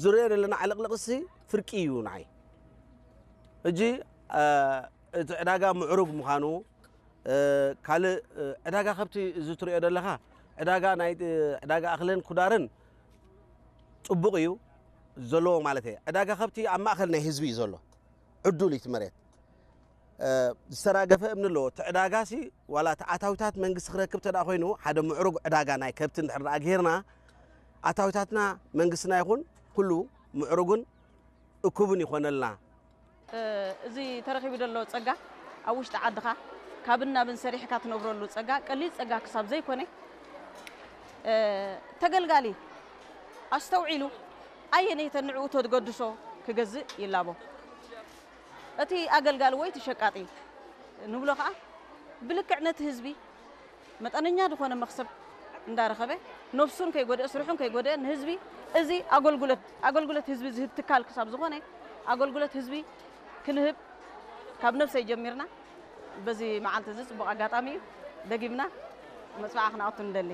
ዝርኦ ዘለና ዕልቕልቕሲ ፍርቂ እዩ ንዓይ። ሕጂ እቲ ዕዳጋ ምዕሩግ ምዃኑ፣ ካልእ ዕዳጋ ከብቲ እዚ ትሪኦ ዘለኻ፣ ዕዳጋ ናይ ዕዳጋ ኣኽልን ኩዳርን ጽቡቕ እዩ ዘለዎ ማለት እየ። ዕዳጋ ከብቲ ኣብ ማእከል ናይ ህዝቢ እዩ ዘሎ። ዕዱል እዩ እቲ መሬት። ዝተራገፈ እምኒ ኣለዎ። እቲ ዕዳጋሲ ዋላ እቲ ኣታዊታት መንግስቲ ክረክብ ተደኣ ኮይኑ፣ ሓደ ምዕሩግ ዕዳጋ ናይ ከብቲ እንድሕር ደኣ ገይርና፣ ኣታዊታትና መንግስትና ይኹን ኩሉ ምዕሩግን እኩብን ይኾነልና። እዚ ተረኺቡ ዘሎ ጸጋ ኣብ ውሽጢ ዓድኻ ካብን ናብን ሰሪሕካ ትነብረሉ ጸጋ ቀሊል ጸጋ ክሳብ ዘይኮነ፣ ተገልጋሊ ኣስተውዒሉ ኣየነይተን ንዕኡ ተገድሶ ክገዝእ ይላቦ። እቲ ኣገልጋሊ ወይ እቲ ሸቃጢ ንብሎ ከኣ ብልክዕ ነቲ ህዝቢ መጠነኛ ዝኾነ መኽሰብ እንዳረኸበ ነብሱን ከይጎደአ ስርሑን ከይጎደአ ንህዝቢ እዚ ኣገልግሎት ኣገልግሎት ህዝቢ ዝህብ ትካል ክሳብ ዝኾነ ኣገልግሎት ህዝቢ ክንህብ ካብ ነብሰይ ጀሚርና በዚ መዓልቲ እዚ ጽቡቕ ኣጋጣሚ እዩ። ደጊምና መጽዋዓ ክነኣቱ ንደሊ።